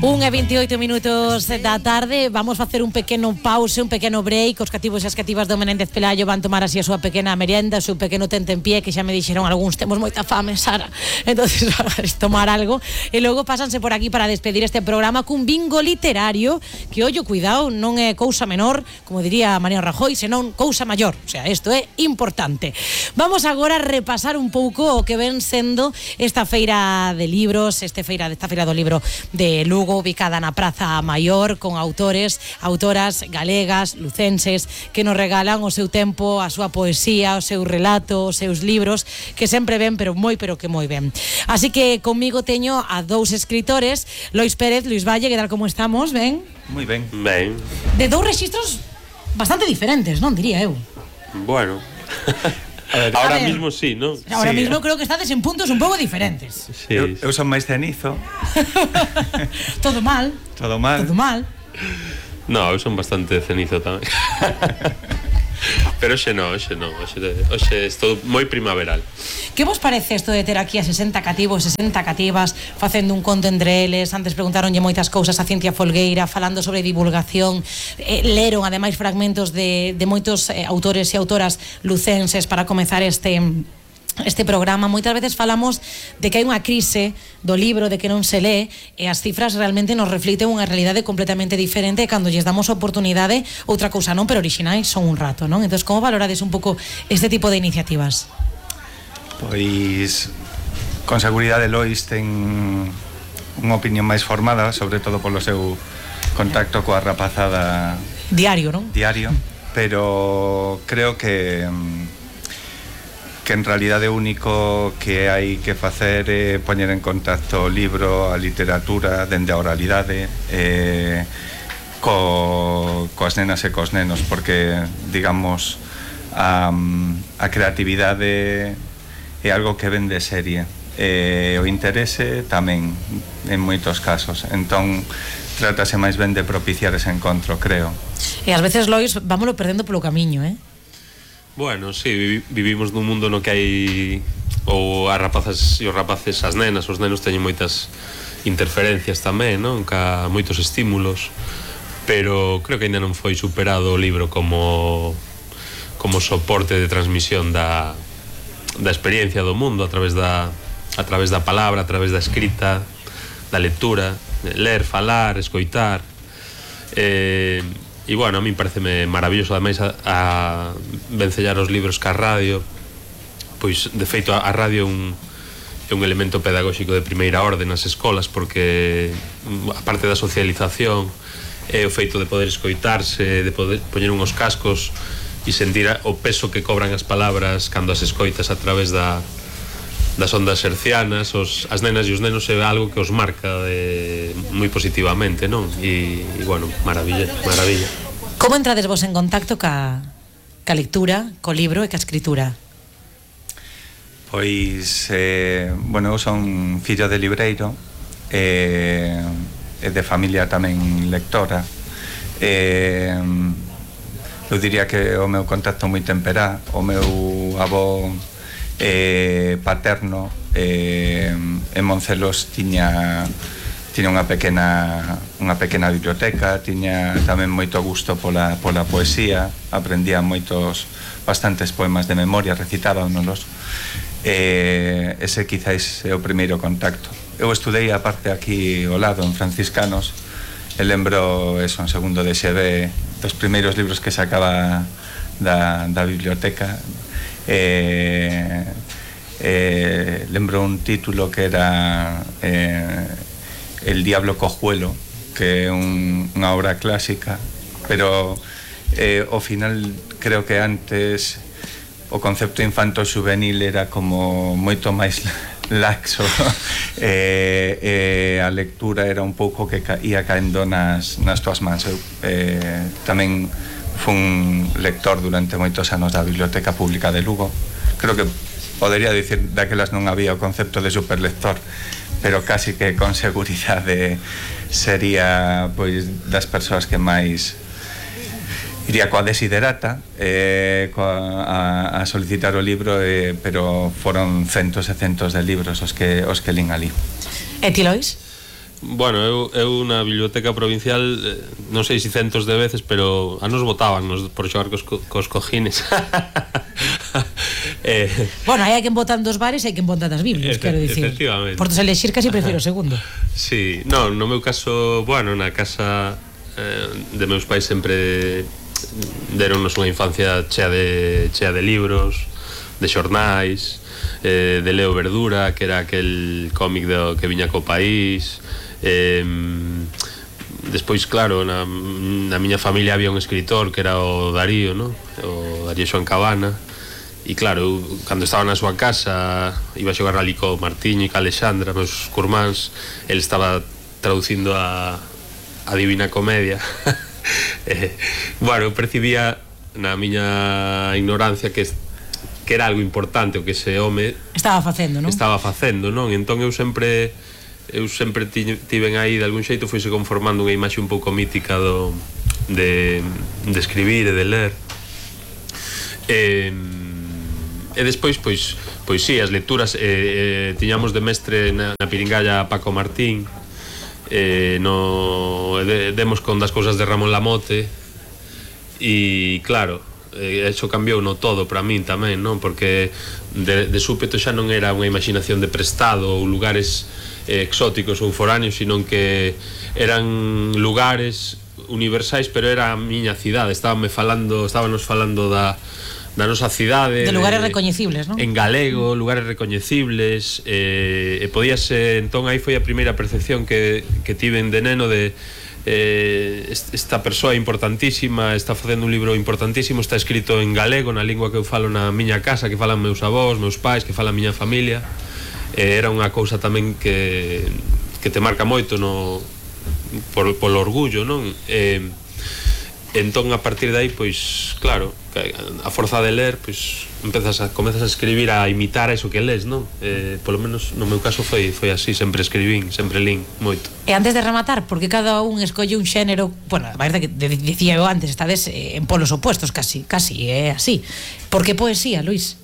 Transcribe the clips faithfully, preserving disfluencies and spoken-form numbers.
un e veintioito minutos da tarde. Vamos facer un pequeno pause, un pequeno break. Os cativos e as cativas do Menéndez Pelayo van tomar así a súa pequena merienda, o seu pequeno tentempié, que xa me dixeron algúns, temos moita fame, Sara. Entonces, tomar algo e logo pásanse por aquí para despedir este programa cun bingo literario que, ollo, cuidado, non é cousa menor, como diría Mariano Rajoy, senón cousa maior. O sea, isto é importante. Vamos agora a repasar un pouco o que ven sendo esta feira de libros, este feira, esta feira do libro de Lugo, ubicada na Praza Maior, con autores, autoras galegas, lucenses, que nos regalan o seu tempo, a súa poesía, o seu relato, os seus libros, que sempre ven, pero moi, pero que moi ben. Así que comigo teño a dous escritores, Lois Pérez, Luis Valle, que tal como estamos, ben? Moi ben. Ben. De dous rexistros bastante diferentes, non diría eu? Bueno. Ver, ahora ver, mismo sí, ¿no? Ahora sí, mismo creo que estades en puntos un pouco diferentes. Sí. Eu, eu son máis cenizo. Todo mal. Todo mal. Todo mal. No, eu son bastante cenizo tamén. Pero hoxe non, hoxe non, hoxe, hoxe estou moi primaveral. Que vos parece isto de ter aquí a sesenta cativos, sesenta cativas, facendo un conto entre eles? Antes preguntaronlle moitas cousas a Cintia Folgueira, falando sobre divulgación, eh, leron ademais fragmentos de, de moitos eh, autores e autoras lucenses para comezar este... este programa. Moitas veces falamos de que hai unha crise do libro, de que non se lee, e as cifras realmente nos reflicten unha realidade completamente diferente, e cando lles damos oportunidade, outra cousa non, pero orixinais son un rato, non? Entón, como valorades un pouco este tipo de iniciativas? Pois, con seguridade Lois ten unha opinión máis formada, sobre todo polo seu contacto coa rapazada diario, non? Diario, pero creo que que en realidade o único que hai que facer é poñer en contacto o libro, a literatura, dende a oralidade, eh, co, coas nenas e cos nenos, porque, digamos, a, a creatividade é algo que ven de serie, e o interese tamén, en moitos casos. Entón, trátase máis ben de propiciar ese encontro, creo. E ás veces, Lois, vámoslo perdendo polo camiño, eh? Bueno, sí, vivimos nun mundo no que hai ou as rapazas e os rapaces, as nenas, os nenos teñen moitas interferencias tamén, non? Ca moitos estímulos, pero creo que ainda non foi superado o libro como como soporte de transmisión da da experiencia do mundo a través da a través da palabra, a través da escrita, da lectura, ler, falar, escoitar. Eh E, bueno, a mí pareceme maravilloso, ademais, a, a vencellar os libros ca radio. Pois, de feito, a, a radio é un, é un elemento pedagóxico de primeira orde nas escolas, porque, a parte da socialización, é o feito de poder escoitarse, de poder poñer uns cascos e sentir o peso que cobran as palabras cando as escoitas a través da das ondas hercianas. Os, as nenas e os nenos é algo que os marca de, moi positivamente, non? E, e bueno, maravilla, maravilla. Como entrades vos en contacto ca, ca lectura, co libro e ca escritura? Pois, eh, bueno, eu son fillo de libreiro, e eh, de familia tamén lectora. Eh, eu diría que o meu contacto moi temperá. O meu avó eh, paterno eh, en Moncelos tiña tiña unha pequena unha pequena biblioteca, tiña tamén moito gusto pola, pola poesía, aprendía moitos bastantes poemas de memoria, recitábanos. Eh, ese quizáis é o primeiro contacto. Eu estudei a parte aquí ao lado en Franciscanos, e lembro eso, en segundo de X B, dos primeiros libros que sacaba da, da biblioteca. Eh, eh, lembro un título que era eh, El Diablo Cojuelo, que é un, unha obra clásica, pero eh, ao final creo que antes o concepto infanto-xuvenil era como moito máis laxo, e eh, eh, a lectura era un pouco que ca, ia caendo nas, nas tuas mans. Eu eh, tamén fun lector durante moitos anos da Biblioteca Pública de Lugo. Creo que podería dicir daquelas non había o concepto de superlector, pero casi que con seguridade sería pois das persoas que máis iría coa desiderata eh, coa, a, a solicitar o libro, eh, pero foron centos e centos de libros os que, os que lín ali. E ti, Lois? Bueno, eu, eu na biblioteca provincial eh, non sei se centos de veces, pero a nos botaban nos, por xogar cos, cos cojines. eh, Bueno, hai quen botan dos bares e hai quen botan das biblias, Efe, quero dicir. efectivamente. Por elexir casi prefiro o segundo. Sí, non, no meu caso, bueno, na casa eh, de meus pais sempre deronnos unha infancia chea de, chea de libros, de xornais, eh, de Leo Verdura, que era aquel cómic do, que viña co país. Eh, despois, claro, na, na miña familia había un escritor que era o Darío, no? O Darío Xoan Cabana. E claro, eu, cando estaba na súa casa iba a xogar ali co Martiño e co Alexandra, meus curmáns, el estaba traducindo a, a Divina Comedia. eh, bueno, eu percibía na miña ignorancia que, que era algo importante o que ese home estaba facendo, non? Estaba facendo, non? Entón eu sempre eu sempre tiven aí de algún xeito foise conformando unha imaxe un pouco mítica do de, de escribir e de ler. E, e despois, pois, pois sí, as lecturas eh, eh, tiñamos de mestre na, na Piringalla a Paco Martín, eh, no, de, demos con das cousas de Ramón Lamote, e claro, eh, eso cambiou no todo para min tamén, non? Porque de, de súpeto xa non era unha imaginación de prestado ou lugares eh, exóticos ou foráneos, sino que eran lugares universais, pero era a miña cidade. Estábame falando, estábanos falando da da nosa cidade, de lugares de, recoñecibles, non? En galego, lugares recoñecibles, eh, e podíase, entón aí foi a primeira percepción que, que tiven de neno de eh, esta persoa importantísima, está facendo un libro importantísimo, está escrito en galego, na lingua que eu falo na miña casa, que falan meus avós, meus pais, que fala a miña familia. Eh, era unha cousa tamén que, que te marca moito no, por, polo orgullo, non? Eh, entón a partir de aí, pois, claro, a forza de ler, pois empezas a comezas a escribir, a imitar eso que lees, non? Eh, polo menos no meu caso foi foi así, sempre escribín, sempre lín moito. E antes de rematar, porque cada un escolle un xénero, bueno, a verdade que dicía eu antes, estades en polos opuestos casi, casi é así. Por que poesía, Luís?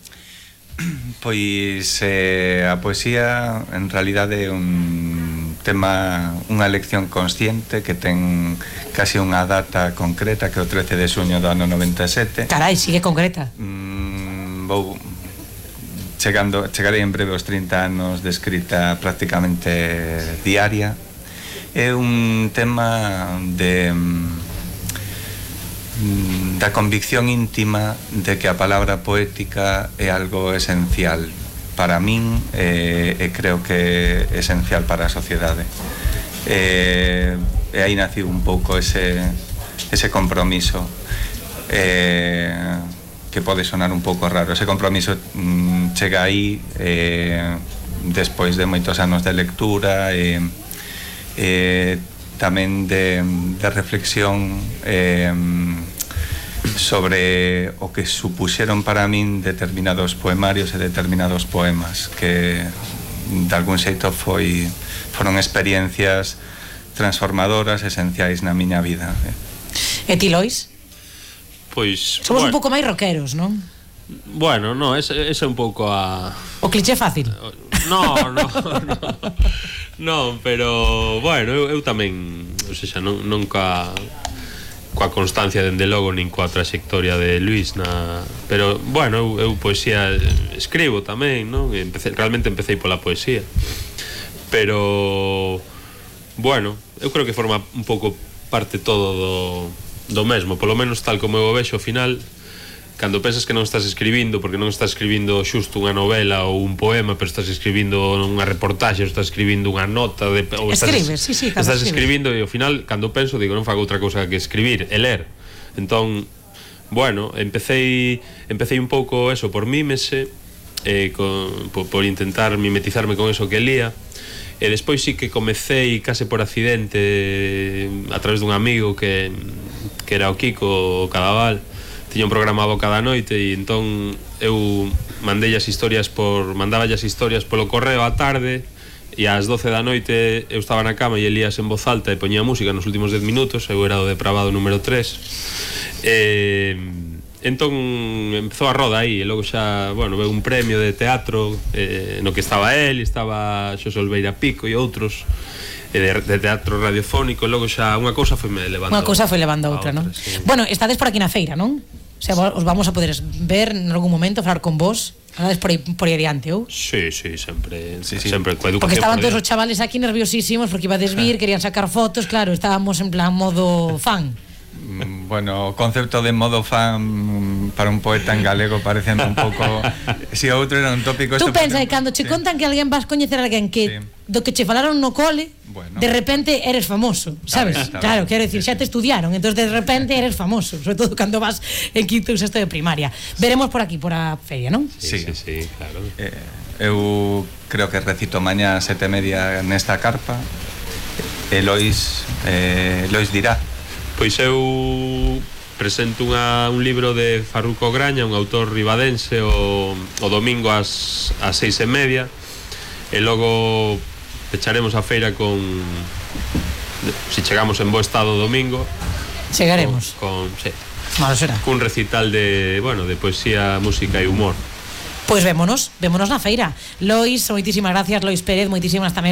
Pois eh, a poesía en realidade é un tema, unha elección consciente que ten casi unha data concreta, que é o trece de xuño do ano noventa e sete. Carai, sigue concreta. mm, Vou chegando, chegarei en breve aos trinta anos de escrita prácticamente diaria. É un tema de da convicción íntima de que a palabra poética é algo esencial para min e, e creo que é esencial para a sociedade. E, e aí naciu un pouco ese, ese compromiso e, que pode sonar un pouco raro. Ese compromiso mm, chega aí e, despois de moitos anos de lectura e, e tamén de, de reflexión eh, sobre o que supuxeron para min determinados poemarios e determinados poemas que de algún xeito foi, foron experiencias transformadoras, esenciais na miña vida. E ti, Lois? Pois, somos bueno, un pouco máis rockeros, non? Bueno, no, ese, ese é un pouco a... O cliché fácil. No, no, no. Non, pero, bueno, eu, eu tamén, ou seja, non, nunca coa constancia dende logo nin coa trayectoria de Luís na, pero, bueno, eu, eu poesía escribo tamén, non? Empecé, realmente empecé pola poesía. Pero, bueno, eu creo que forma un pouco parte todo do, do mesmo, polo menos tal como eu o vexo ao final. Cando pensas que non estás escribindo, porque non estás escribindo xusto unha novela ou un poema, pero estás escribindo unha reportaxe, ou estás escribindo unha nota de, ou escribes, estás, sí, sí, estás escribes. escribindo e ao final, cando penso, digo, non fago outra cousa que escribir e ler. Entón, bueno, empecé empecé un pouco eso por mímese, eh, con, por, por intentar mimetizarme con eso que lía. E despois sí que comecei case por accidente a través dun amigo que, que era o Kiko Cadaval. Tiña un programa cada noite e entón eu mandei as historias por mandaba as historias polo correo á tarde e ás doce da noite eu estaba na cama e elías en voz alta e poñía música nos últimos dez minutos. Eu era o depravado número tres e entón empezou a roda aí e logo xa, bueno, veu un premio de teatro eh, no que estaba él, estaba Xosé Olveira Pico e outros e de, de teatro radiofónico, e logo xa unha cousa foi me levando Unha cousa foi levando a outra, a non? sí. Bueno, estades por aquí na feira, non? O sea, os vamos a poder ver en algún momento, falar con vos. Andades por aí, por aí adiante, ou? Sí, sí, sempre, Sí, sí. sempre coa educación. Porque estaban por todos os diante. chavales aquí nerviosísimos porque ibades vir, querían sacar fotos, claro, estábamos en plan modo fan. Mm, Bueno, o concepto de modo fan para un poeta en galego parece un pouco... Si o outro era un tópico... Tú este, pensa que por cando che sí. contan que alguén vas coñecer a alguén que Sí. do que che falaron no cole, Bueno. de repente eres famoso, Está sabes? ben, está Claro, ben. quero decir, Sí, xa te estudiaron, entonces de repente eres famoso, sobre todo cando vas en quinto ou sexto de primaria. Veremos por aquí, por a feria, non? Sí, Sí. sí, sí, claro. Eh, eu creo que recito mañá a sete e media nesta carpa. E Lois, eh, Lois dirá. Pois eu presento unha, un libro de Farruco Graña, un autor ribadense, o, o domingo ás, ás seis e media, e logo pecharemos a feira con, si chegamos en bo estado o domingo, Chegaremos. con, con sí, Malo será. cun recital de, bueno, de poesía, música e humor. Pois vémonos, vémonos na feira. Lois, moitísimas gracias, Lois Pérez, moitísimas tamén